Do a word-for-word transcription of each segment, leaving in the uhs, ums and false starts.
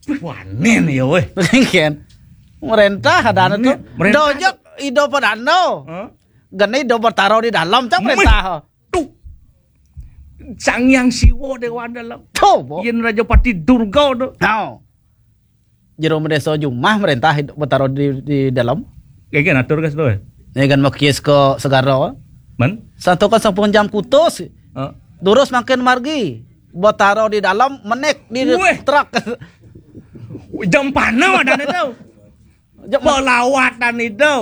Wanen ya weh. Kan. Merentah ada tu. Merentah. Dojok ido padando. Hah? Gene ido Betaro di dalam cang merentah. Tuh. Sang Hyang Siwa Dewa Dalam. Tuh, bo. Yen Raja Pati Durga tu. Tau. Jero Medeso Jumah merentah ido Betaro di, di dalam. Kayak gini atur guys tu. Ini kan mekis ke segara. Men? Satu kan sampun jam kutus. Heeh. Durus makin margi. Betaro di dalam menek di Weh. Truk. Jam panau ada tu. Jam pelawatan itu.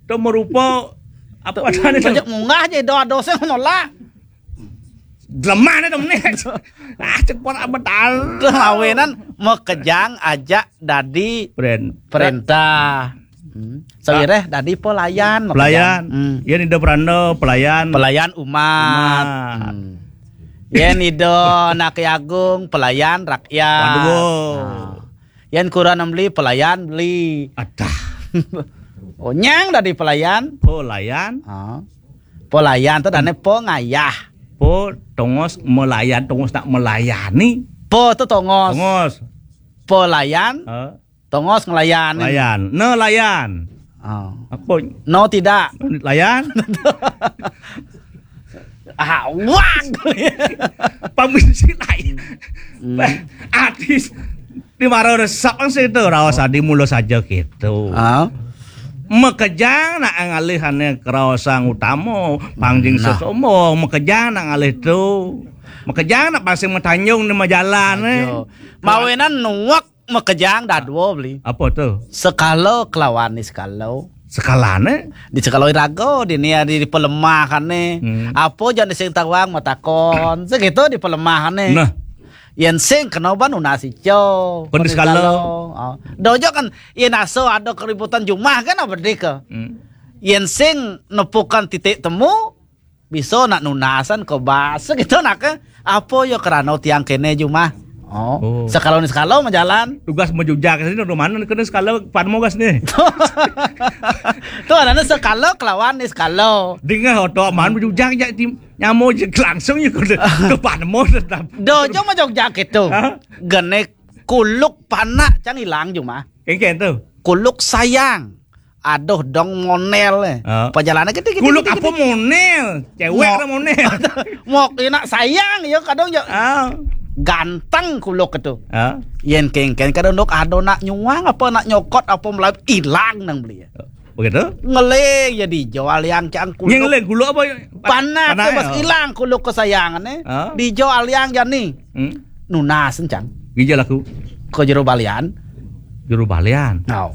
Tu merupa apa tadi tu? Sejak munggah je doa dosa menolak. Lemah ni tu menek. Ah, cepat apa tahu. Mawinan mekejang ajak dadi Pren. Perintah. Hmm. Sawireh dadi pelayan, pelayan. Hmm. Yen ido peranda pelayan. Pelayan umat. Umat. Hmm. Yen ido anak agung pelayan rakyat. Waduh. Nah. Yen kuran beli pelayan beli. Adah. Onyang dadi pelayan. Pelayan. Ah. Pelayan tu dane pengayah. Po tongos melayan, tongos nak melayani. Po tu tongos. Tongos. Pelayan. Heeh. Tongos ngelayan. Layan. Nelayan. Oh. Apa? No tidak. Layan. Ah, wang. Pamisi layan. Hmm. Artis di mara resep kan situ raos adi mula saja gitu. Ah. Mekejang nak ngalih ane keraosan utama, pangjing nah. Sesombong, mekejang nak ngalih tu. Mekejang nak pasing metanjung di majalan eh. Mawinan nuak mekejang dadua beli. Apa tu? Sekala kelawan ni sekala. Sekalane? Di sekala iraga, di ni di, di pelemahan ni. Hmm. Apa jan sing tawang matakon. Segitu di pelemahan ni. Nah. Yen sing kena ban nunas ica. Kon di sekala. Ah. Dojo kan yen aso ada keributan jumah kan apa deka. Hmm. Yen sing nepukan titik temu, bisa nak nunasan ke bas gitu nak ke. Apa ya kerana tiang kene jumah. Oh, oh. Sekala ni sekala majalan. Tugas majujak sini rumah mana kena sekala pan mogas ni. Tu ada sekala kelawan ni sekala. Dengar otak man majujak jak tim nyamo je langsung je ke ke pan mo tetap. Dojo majujak gitu. Hah? Gene kuluk panak cang ilang jumah. Kengken tu. Kuluk sayang. Aduh dong monel eh. Ah. Perjalanan gede gede. Kuluk gede, apa gede. Monel? Cewek lah monel. Mok dia nak sayang ya kadang ya. Ah. Ganteng kuluk itu. Ah. Yen kengken kadang dok ada nak nyuang apa nak nyokot apa melai hilang nang beli. Begitu? Ngeling ya dijual yang cang kuluk. Yang ngeling kuluk apa? Panak, panak, pas ya. Hilang kuluk kesayangan eh. Ah. Dijual yang jani. Hmm. Nunas encang. Gija laku. Ke jero balian. Jero balian. Nau.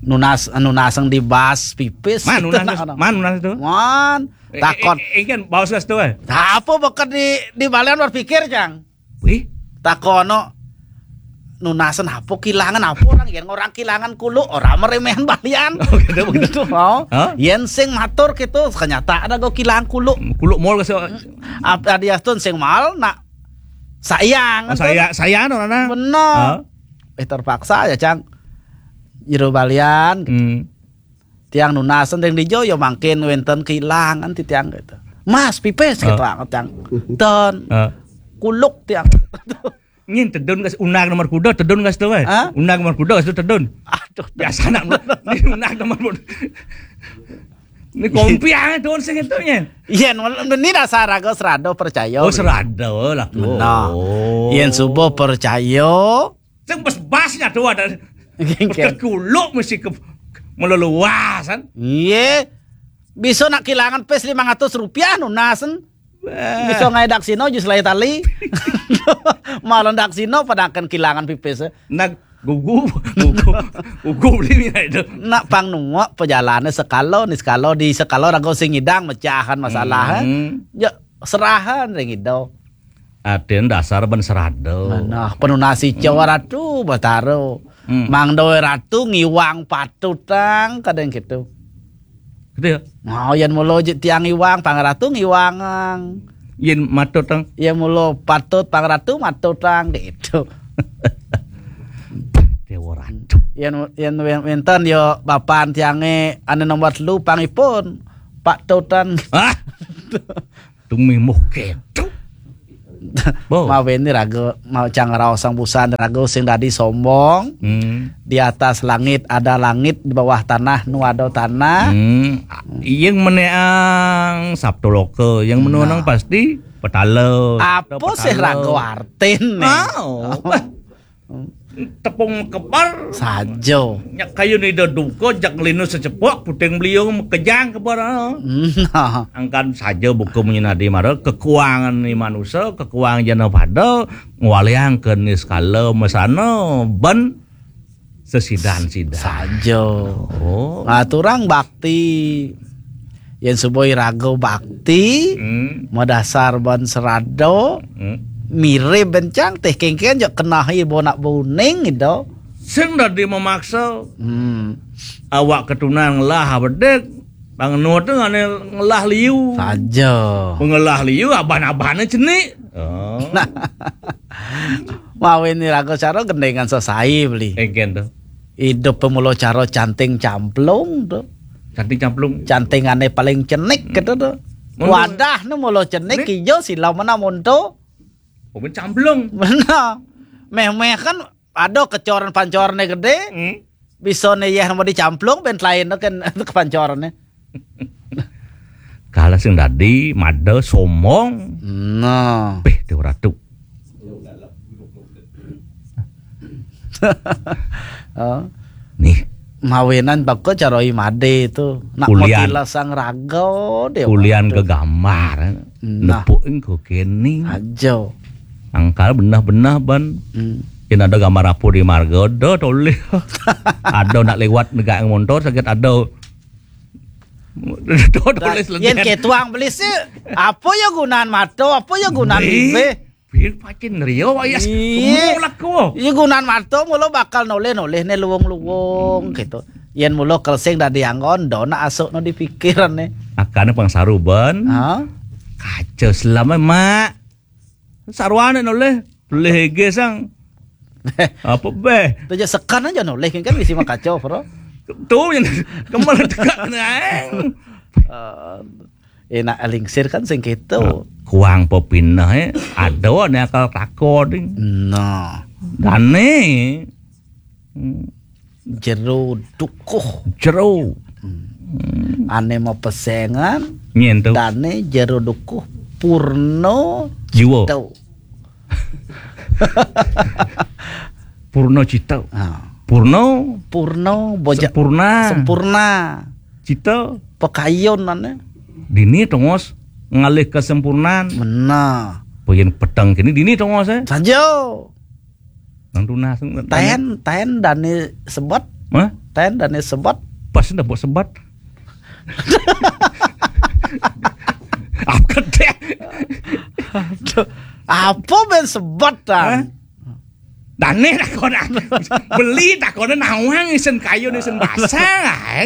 Nunas nunas yang dibas pipis. Man nunas. Man nunas itu. Man. Eh, takon. Eh, eh, kan baus gas tu eh. Apa bekat di di balian berpikir cang? Wih. Takono nunasan apa kilangan apa orang yang orang kilangan kuluk orang meremehan balian. Oh, gitu, begitu. Oh. Hah? Yen sing matur gitu ternyata ada go kilang kuluk. Kuluk mall ke apa dia tuh sing mal nak sayang. Oh, saya saya no nana. Benar. Eh terpaksa ya cang. Jero balian. Hmm. Tiang nunasan deng dijo yo mangkin wenten kilangan ti tiang gitu. Mas pipis gitu tiang. Ten kuluk tiang. Nyin tedun gas unag nomor kuda tedun gas tu eh. Hah? Unag nomor kuda gas tu tedun. Aduh. Biasa nak ni unag nomor kuda. Ni kompiang tu sing itu nyin. Yen ni dasar aku serado percaya. Oh serado lah. Nah. Oh. Yen subuh percaya. Sing bas-bas nya tu ada. Kuluk mesti ke meleluasan. Iya. Bisa nak kilangan pes lima ratus rupiah nunasan. Bisa ngai daksino jus lai tali. Malah daksino pada akan kilangan pipis. Nak gugu gugu gugu beli mina itu. Nak pang nuak pejalane sekalo ni sekalo di sekalo rago sing idang mecahan masalah. Hmm. Ya serahan ring ido. Aden dasar ben serada. Nah, penunasi Jawa Ratu Bataro. Hmm. Mang Doe Ratu ngiwang patutang kadang gitu. Gitu ya. Nah, yen mulo je tiang ngiwang, Pang Ratu ngiwangang. Yen matutang. Yen mulo patut Pang Ratu matutang gitu. Dewa Ratu. Yen yen yen wenten yo bapan tiange ane nomor telu pangipun Pak Tutan. Ah. Tumi muh ketu. Bo. Mawinan raga, mau cang raosang busan raga sing dadi sombong. Hmm. Di atas langit ada langit, di bawah tanah nu ada tanah. Hmm. Yang meneang Sabtu Loka, yang menuanang Nah. pasti petala. Apa sih Petala. raga artin nih? Ah, oh. Tepung kebar. Saja. Nyak kayu ni da duka, jak ngelinu secepok, puting beliung mekejang kebar, ah. Nah. Angkan saja buku menyinadi mara, kekuangan ni manusia, kekuangan jana pada, ngwaliang ke ni sekala mesana, ben sesidan-sidan. Saja. Oh. Ngaturang bakti. Yen suba iraga bakti, Hmm. madasar ban serada, Hmm. mirib bencang, teh kengken jak kenahi bo nak buning gitu. Sing dadi memaksa. Hmm. Awak ketunan ngelah bedik, pang nu tu ngane ngelah liu. Saja. Pengelah liu, aban-abane cenik. Oh. Nah. Mawinan iraga cara gendengan sesai beli. Engken tu. Idup pemula cara canting camplung tu. Canting camplung. Cantingane paling cenik Hmm. gitu tu. Monto. Wadah ni mula cenik Nih. Ijo sila mana monto. Oh, ben camplung. Benar. Meh-meh kan ada kecoran pancorane gede. Hmm. Bisa ne yeh mau dicamplung ben lain tu kan kepancorane. Kala sing dadi mada sombong. Nah. Peh, Dewa Ratu. Oh. Nih. Mawinan baka cara imade tu. Nak Ulian. Matilasang raga dia Ulian waktu. Gegambar. Nah. Nepuk engko kene. Aja. Angkal benah-benah ban. Hmm. Yen ada gambar apa di marga, ada tulis. Ada nak lewat negak montor sakit ada. Ada tulis Yen legen. Ketuang beli sih, apa ya gunaan mata, apa ya gunaan Beli. Bibir? Pin pacin rio wayas. Iya. Kemulak ko. Iya gunaan mata mula bakal noleh-noleh ne luwung-luwung gitu. Yen mula kelsing dadi anggon, dona asuk no dipikiran ne. Akane pang saru ban. Ha? Kaca selama mak. Saruane noleh, noleh ege sang. Apa beh? Tu je sekan aja noleh kan bisi makaca, bro. Tu yang kemana tegak naeng. Eh, enak lingsir kan sing gitu. Kuang pepinah eh, ada ne akal tako ding. Nah. Dane. Hmm. Jero dukuh. Jero. Hmm. Ane mau pesengan. Nyen tu. Dane jero dukuh purno Jiwa. Cita. Purno cita. Ha. Purno. Purno boja Sempurna. Sempurna. Cita. Pekayun ane. Dini tongos ngalih kesempurnaan. Benar. Pengin peteng kini dini tongos eh. Saja. Nang tunas, nang Taen, taen dane sebet. Hah? Taen dane sebet. Pas ndak buat sebet. Apa deh? Aduh, apa ben sebet, Tan? Hah? Dane takon. Beli takon nawang isen kayu isen basah.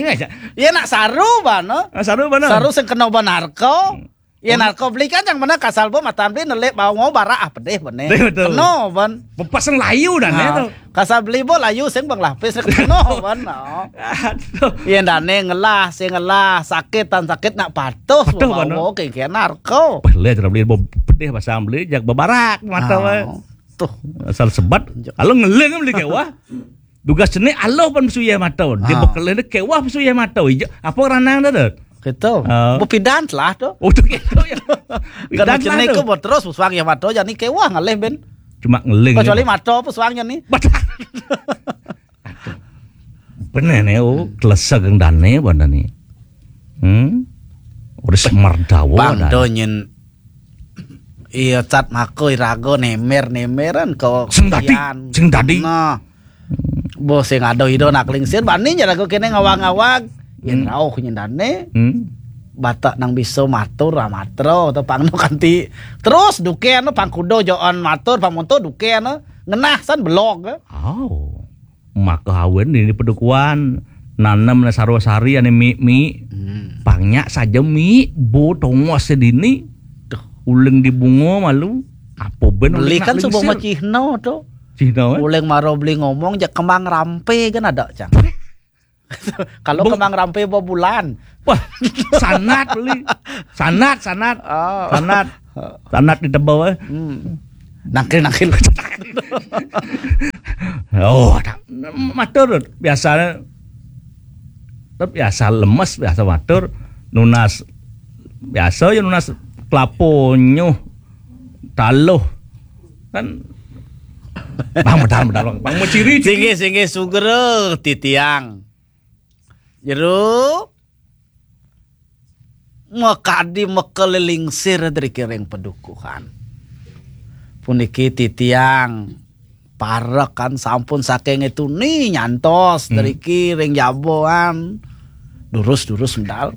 Ya nak saru bana. Ah, saru bana. Saru sing kena banarko. Hmm. Ya narko beli kan yang mana kasal bo matan beli nelik bau ngau barak ah pedih bene. Betul. Keno ban. Bepasang layu dan ya tu. Kasal beli bo layu sing bang lapis keno ban. Oh. Aduh. Ya dane ngelah sing ngelah sakit tan sakit nak patuh. Patuh ban. Bau ke ke narko. Pelih cara beli bo pedih pasang beli jak bebarak mata. Oh. Tuh. Asal sebat. Kalau ngeling beli kewah. Dugas cenik aloh pan pesuya mata. Dia bekelih dia kewah pesuya mata. Ija, apa ranang dah tu? Gitu. Ah. Bepidan telah tu. Oh, tu gitu ya. Kan cenik ke terus pesuang ya mata jadi kewah ngalih ben. Cuma ngeling. Kecuali mata pesuangnya ni. Betul. Benar ni, oh, kelesa geng dane bana ni. Hmm? Udah semerdawa. Bang do nyen Iya, cat mako irago nemer-nemeran ko sing dadi, sing dadi. Nah. Bo sing ado ido nak lingsir bani nya rago kene ngawag-ngawag. Yen rauh nyendane. Hmm. Batak nang bisa matur amatro atau pang no kanti. Terus duken no pang kudo joan matur pang monto duken no. Ngenah san belog. Oh. Maka awen ini pedukuan nanem na sarwa-sari ane mi-mi. Hmm. Pangnya saja mi bo tongos sedini. Duh. Uling di bungo malu. Apa ben beli kan subo ma Cihno tu. Cihno eh? Uling maro beli ngomong jak kemang rampe kan ada cang. Kalau kemang rampe bo bulan. Wah, sanat beli. Sanat, sanat. Oh. Sanat. Tanat di tebel, eh. Hmm. Nangkil-nangkil. Oh, ada. Matur biasanya tetep biasa lemes, biasa matur, nunas biasa ya, nunas kelapo nyuh taluh kan. Bang, bedal, bedal, bang. Bang, mau ciri. Singgih, singgih, sugra titiang. Jero makadi makalilingsir driki ring padukuhan. Puniki titiang parekan sampun saking tuni nyantos driki ring jaboan. Durus-durus medal.